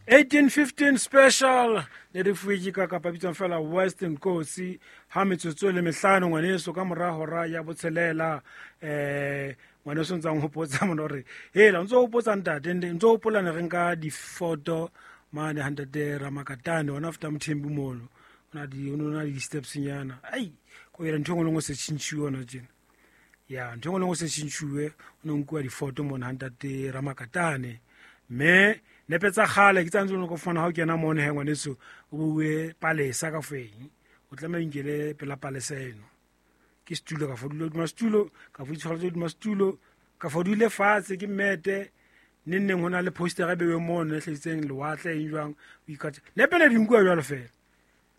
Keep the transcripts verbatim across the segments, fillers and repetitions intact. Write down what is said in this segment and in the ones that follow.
eighteen fifteen special ne re fuwe ke ka kapa bitswang fela Western Coast ha metsotso le mehlano ngwaneso ka mora hora ya botshelela. Eh ngwaneso ntse a nhopotsa mona hore hela ntso hopotsa ntate ntso hopola ne re nka difoto mane ha ntate Ramakatane ona after Mthembu mono ona di ona di steps nyana ai ko ira ntho ngwe se tshintshwe ona tjena ya ntho ngwe se tshintshwe o nkuwa difoto mona ha ntate Ramakatane me nepe tsa kgale ke tsantse go fana ha o kena mone he ngwaneso o bue palesa ka feng o tlameha inkele pela palesa eno ke stulo ka fodule duma stulo ka foditshwara duma stulo ka fodule fatshe ke mete neng neng hona le poster e bewe mono e hlahisitseng lewatle eng jwang o ikatse nepe ne di nkuwa jwalo fela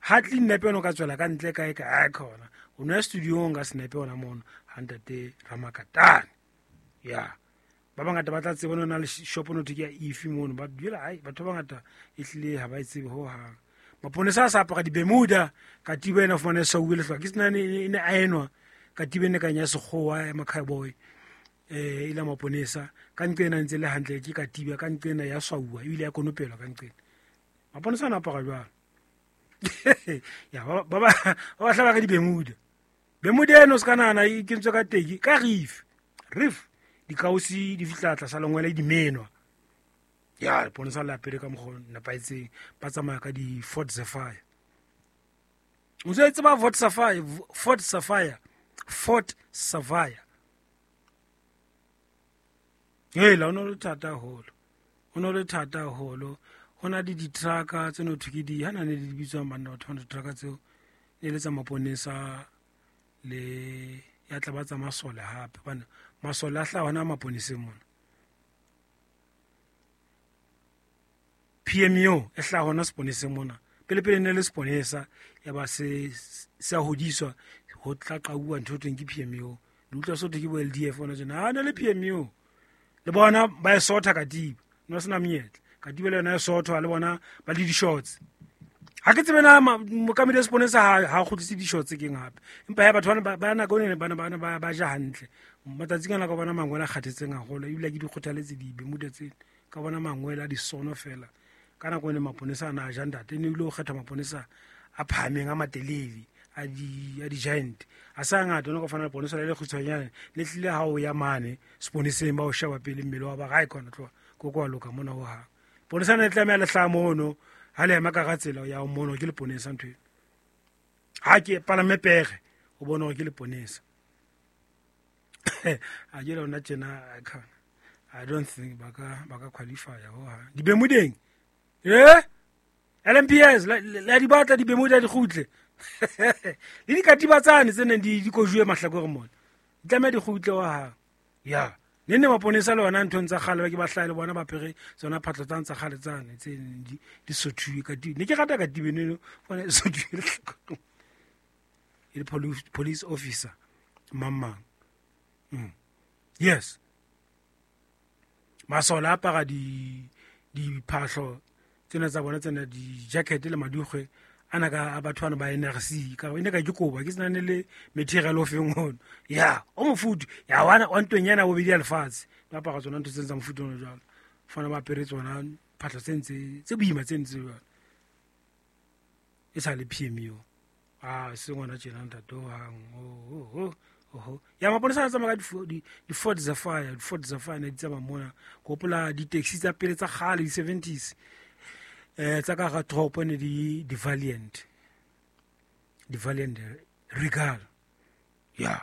ha tle nepe no ka tswela ka ntle kae ka a khona o no studio nga senepe ona mono ha ntate Ramakatane ya ba bangata ba tla tseba nona le shop no ke ya ifi mono ba dula ai batho ba bangata e hlile ha ba tsebe ho hang maponesa a sa apara dibemuda katiba ena fumane sa uwe lehlwa ke sena ne ne aenwa katiba ne kanya sekgowa ya makhaiboy eh ila maponesa ka nqena ntse le hantle ke katiba ka nqena ya swauwa ebile ya konopelwa ka nqena maponesa ana apara jwalo ya ba ba ba hlaba ka dibemuda bemuda eno se kana na e kentswe ka teki ka reef reef dikausi di fihla tlasa lengwele di menwa ya le ponesa la pele ka mokgo nepaetseng ba tsamaya ka di Ford Sapphire o se tseba Ford Sapphire Ford Sapphire Ford Sapphire hela ono le thata holo ono le thata holo hona di di-trucka tse no thwe ke di hana ne di bitswang banna batho ba di-trucka tseo ne le tsa maponesa le ya tla ba tsa masole hape bana masole a hla hona maponeseng mona P M U e hla hona seponeseng mona pele pele ne le seponesa ya ba se se a hodiswa ho tla qauwa ntho teng ke P M U le utlwa so ke bo L D F ona tjena ha ne le P M U le bona ba e sotha katiba no sena menyetla katiba le yona e sothwa le bona ba le di-shorts ha ke tsebe na mokamedi wa seponesa ha ha kgutlise di-shorts keng hape empa ya batho ba ba nako ene bana bana ba ba ja hantle matsatsing ana ka bona mangwele a kgathetseng haholo ebile ke di kgothaletse dibemuda tsena ka bona mangwele a disono fela ka nako ene maponesa ana a ja ntate ne ile o kgetha maponesa a phahameng a matelele a di a di-giant a sa ngata ono ka fana le ponesa le le kgutshwanyane le tlile ha o ya mane seponeseng ba o sheba pele mmele wa ba ga e khona tloha ko kwa loka mona ho hang ponesa ne tlameha le hlaha mono ha le ema ka ga tsela ya mono ke leponesa ntho eno ha ke palame pere o bona hore ke leponesa a ke lona tjena I don't think ba ka ba ka qualify ho hang dibemudeng eh L M P S la di batla dibemuda di kgutle le dikatiba tsane tse neng di di kojuwe mahlakore mona di tlameha di kgutle wa hang ya ne ne maponesa le ona nthong tsa kgale ba ke ba hlahe le bona ba pere tsona phatlo tsane tsa kgale tsane tse di di sothuwe ka di ne ke rata katiba eno bona e sothuwe e le police police officer mang mm. Yes masole a apara di diphahlo tsena tsa bona tsena di-jacket le madukgwe ana ka batho bana ba N R C ka ene ka ke koba ke sena ne le material o feng ono ya o mofutu ya wana wa ntweng yana bobedi ya lefatshe ba apara tsona ntho tse tsa mofutu ono jwalo fana ba apere tsona phahlo tse ntse tse boima tse ntse jwalo e sa le P M U a se ngwana tjena ntate o hang o oho ya maponesa a tsamaya ka di-Ford Sapphire di-Ford Sapphire ne di tsamaya mona ke hopola di-taxi tsa pele tsa kgale di-seventies eh tsa ka ga toropo ne di di Valiant di Valiant Regal ya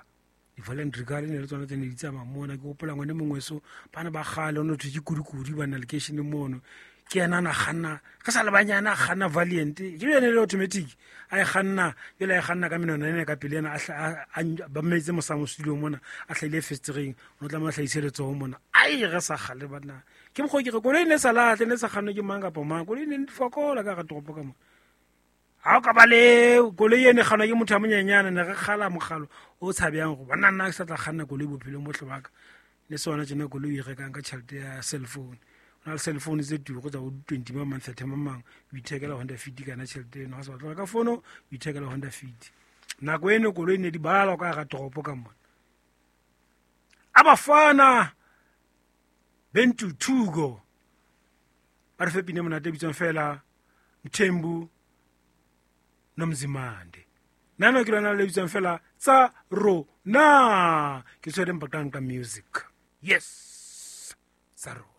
di Valiant Regal ne le tsona tse ne di tsamaya mona ke hopola ngwane mongwe so bana ba kgale ono thwe ke kudukudi ba na lekeisheneng mono ke yena na kganna ka sa le banyana a kganna Valiant ke yone le automatic a e kganna pele a e kganna ka menwana ene ka pele ena a ba mmetse mosamo studio mona a hlahile festereng o tla mo hlahise letsoho mona ai re sa kgale bana ke mokgwa ke re koloi ne sa lahle ne sa kgannwe ke mang kapa mang koloi ne di fokola ka ga toropo ka mona ha o ka ba le koloi ene kgannwa ke motho a monyenyane ne re kgala mokgalo o tshabeyang go bona nna ke sa tla kganna koloi bophelong bohle ba ka le sona tjena koloi e rekang ka tjhelete ya cell phone na le cell phone tse turu tsa bo twenty ba mang thirty mang o ithekela Honda Fit kana tjhelete eno ha se batla ka fono o ithekela Honda Fit nako eno koloi ne di balwa ka ga toropo ka mona abafana Bentuthuko Ba re fe pina e monate e bitswang fela Mthembu Nomzimande. Nano ke lona le bitswang fela tsa rona. Ke tshwere Mbaqanga music. Yes, tsa rona.